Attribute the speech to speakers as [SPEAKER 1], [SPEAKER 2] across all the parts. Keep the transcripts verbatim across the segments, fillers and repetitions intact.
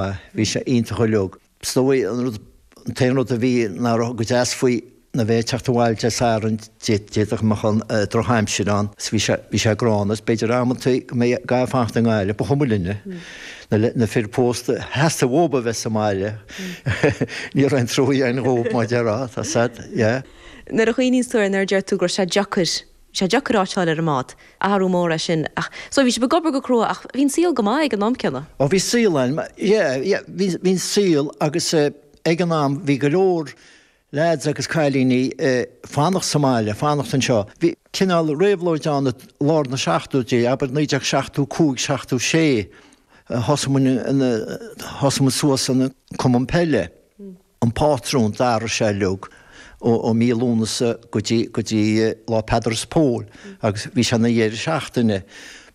[SPEAKER 1] Bhí sé iontach uilig. Is dóigh an rud, an t-aon rud a bhí nach raibh go deas faoi ná bheith ag teacht abhaile Dé Sathairn, d'fhéadfadh go mbeadh an drochaimsir ann is bhí sé, bhí sé gránna is b'fhéidir amantaí go mbeadh gá fanacht i nGaillimh, ba chuma linne, na, na fir pósta, theastaigh uathu a bheith sa mbaile. Ní raibh aon trua againn dhóibh mar a déarfá, tá sad, yeah.
[SPEAKER 2] Nuair a chuimhníonns tú air, nuair a deir tú go raibh sé deacair, sé deacair áit a fháil ar an mbád, athrú mór é sin ach, so bhí sibh ag obair go crua ach bhí an saol go maith ag an am céanna.
[SPEAKER 1] Ó bhí saol ann, yeah, yeah, bhí, bhí an saol agus ag an am bhí go leor leaids agus cailíní fanacht sa mbaile, fanacht anseo. Bhí cineál réabhlóid ann i lár na seachtóidí, abair naoi déag seachtó cúig, seachtó sé, thosaigh muid thosaigh muid suas an cumann peile, an pátrún, d'athraigh sé uilig ó mí Lúnasa go dtí go dtí lá Peadar is Pól agus bhí sé ina dheireadh seachtaine.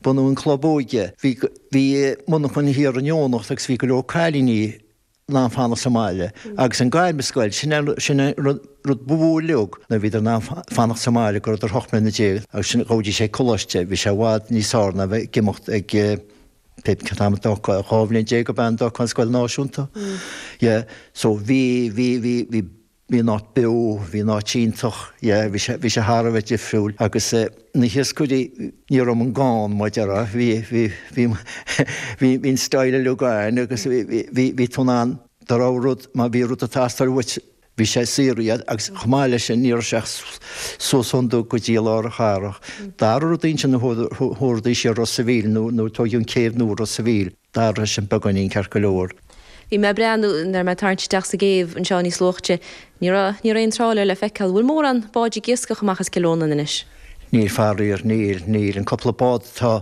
[SPEAKER 1] Bunú an club óige, bhí bhí monarchan thiar in Eoghanacht agus bhí go leor cailíní in ann fanacht sa mbaile agus an gairmscoil, sin an sin an rud rud ba mhó uilig nuair a bhíodar in ann fanacht sa mbaile go rabhadar ocht mbliana déag agus sin ghabhaidís ag coláiste, bhí sé i bhfad níos fearr ná bheith ag imeacht ag pé cén t-am a d'fhágfá, dhá bhliain déag ab ea an d'fhágfá an scoil náisiúnta. Yeah, so bhí bhí bhí bhí bhí an áit beo, bhí an áit iontach, yeah, bhí sé bhí sé thar a bheith difriúil agus na hiascairí ní raibh muid gann mar a déarfá, bhí bhí bhí bhí bhí an style uilig againn agus bhí bhí bhí bhí tú in ann dá raibh rud má bhí rud ag teastáil uait bhí sé saor iad agus chomh maith leis sin ní raibh sé ach suas ón dug go dtí lár an chathrach. Dara rud ansin a thabharfaidís ar Ros a' Mhíl nó nó tóigeadh an céibh nua Ros a' Mhíl. D'athraigh sin beagáinín ceart go leor.
[SPEAKER 2] Bhí mé ag breathnú nuair a bhí mé ag tarraingt isteach sa gcéibh anseo níos luaithe. Ní raibh, ní raibh aon trálaer le feiceáil. Bhfuil mórán báid ag iascach amach as Cill Rónáin anois?
[SPEAKER 1] Níl faraor, níl, níl. An cúpla bád atá,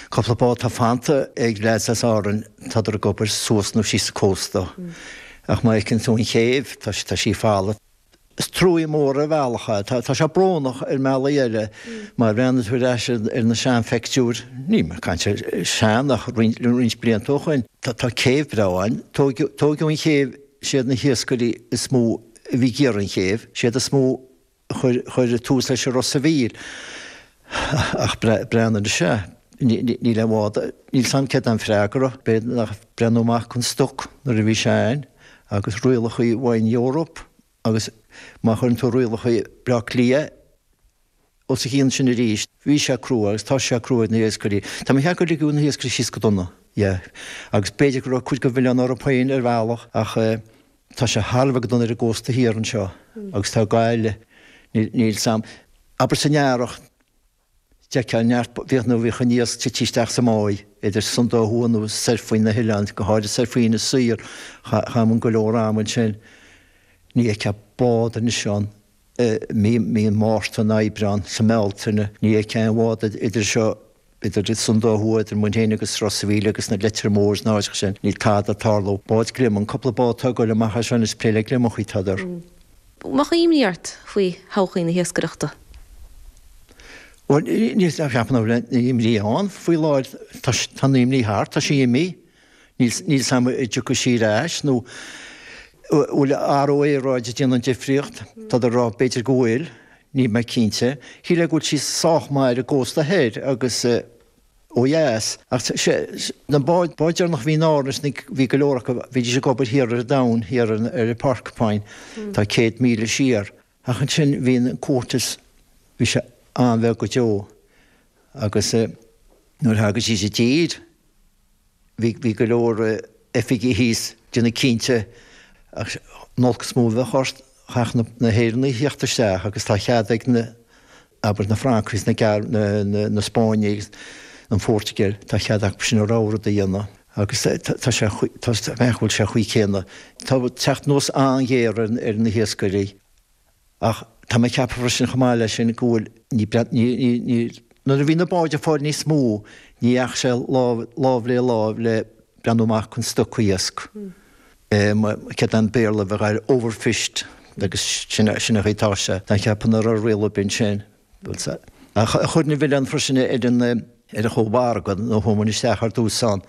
[SPEAKER 1] cúpla bád atá fanta ag leaids as Árainn, tádar ag obair suas nó síos an cósta. Ach má fheiceann tú an chéibh, tá, tá sí folamh. Is trua mór ar bhealach é. Tá sé brónach ar mbealaí eile. Má bhreathnaíonn tú ar ais ar na seanphictiúir, níl mé ag caint ar sean ach roinnt blianta ó shoin, tá céibh breá ann. Tóigeadh an chéibh, siad na hiascairí is mó a bhí ag iarraidh an chéibh, siad is mó a chuir tús leis an Ros a' Mhíl. Ach breathnaigh anois, sea, níl aon bhád, níl 's a'm céard é an freagra, b'fhéidir nach breathnú amach don stoc nuair a bhí sé ann agus rialacha Wine Europe. Agus má chuireann tú rialacha Bleá Cliath os a chionn sin arís, bhí sé crua agus tá sé crua ar na hiascairí. Tá mé ag ceapadh gur ligeadh na hiascairí síos go dona, yeah. Agus b'fhéidir go raibh cuid den mhilleán orthu féin ar bhealach ach tá sé thar a bheith go dona ar an gcósta thiar anseo agus tá Gaillimh, níl 's a'm, abair san earrach, D'fheicfeá neart, bhíodh nó bhíodh an iasc tite isteach sa mbáigh, idir Sundó Thuaidh nó soir faoi na hoileáin, go háirid soir faoi Inis Oírr, chaith muid go leor ama ansin. Ní fheicfeá bád anois ann i mí, mí an Mhárta, an Aibreán, sa mBealtaine, ní fheicfeá aon bhád idir seo, idir Sundó Thuaidh, idir muid féin agus Ros a' Mhíl agus na Leitir Móir is na háiteacha sin, níl tada ag tarlú. Báid gliomaigh, an cúpla bád atá ag goil amach as seo anois, plé le gliomachaí atádar.
[SPEAKER 2] Mbeadh imní ort faoi thodhchaí na hiascaireachta?
[SPEAKER 1] Bhuel, níl, ceapaim nach bhfuil aon imní ann faoi láthair. Tá, tá an imní thart, tá sí imithe. Níl, níl 's a'm an dtiocfaidh sí ar ais nó bhfuil athrú aeráide ag déanamh an difríocht. Tádar ag rá b'fhéidir go bhfuil, níl mé cinnte. Shílfeá go bhfuil sí sách maith ar an gcósta thoir agus ó dheas. Ach sé, na báid, báid deireanach a bhí in Árainn, bhí go leor acu, bhídís ag obair thiar ar an domhan, thiar ar an Porcupine, tá céad míle siar. Ach ansin bhí an cuotas, bhí sé an-bheag go deo agus nuair a thagaidís i dtír bhí, bhí go leor oifigigh thíos ag déanamh cinnte ach an olc is mó a bheadh ort, chaithfeadh na hÉireannaigh theacht isteach agus tá cead ag na, abair na Francaigh is na, na, na Spáinnigh agus an Phortaingéil, tá cead acu sin a rogha rud a dhéanamh agus tá sé, tá, measaim go bhfuil sé chaoi céanna. Tá teacht anuas an-ghéar ar, ar na hiascairí. Ach tá mé ag ceapadh freisin chomh maith leis sin go bhfuil, ní, ní, ní, ní, nuair a bhí na báid ag fáil níos mó, ní dheachaigh sé lámh, lámh le láimh le breathnú amach chun stoc iasc. Céard é an Béarla a bheadh air, overfished agus sin, sin an chaoi atá sé. Tá mé ag ceapadh nach raibh riail ar bith ansin. Ach chuir an milleán freisin ar an, ar an chómhargadh nuair a chuaigh muid isteach ar dtús ann.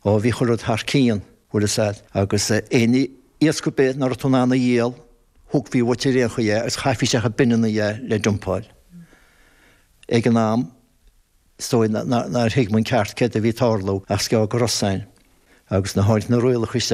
[SPEAKER 1] Ó bhí chuile rud thar cionn, bhfuil fhios a'd, agus aon iasc ar bith nach raibh tú in ann a dhíol, Thógfaí uait ar aon chaoi é agus chaithfí isteach i binneanna é le dumpáil. Ag an am, is dóigh nár thuig muid ceart céard a bhí ag tarlú ach is gearr go Rosainn. Agus nuair a tháinig na rialacha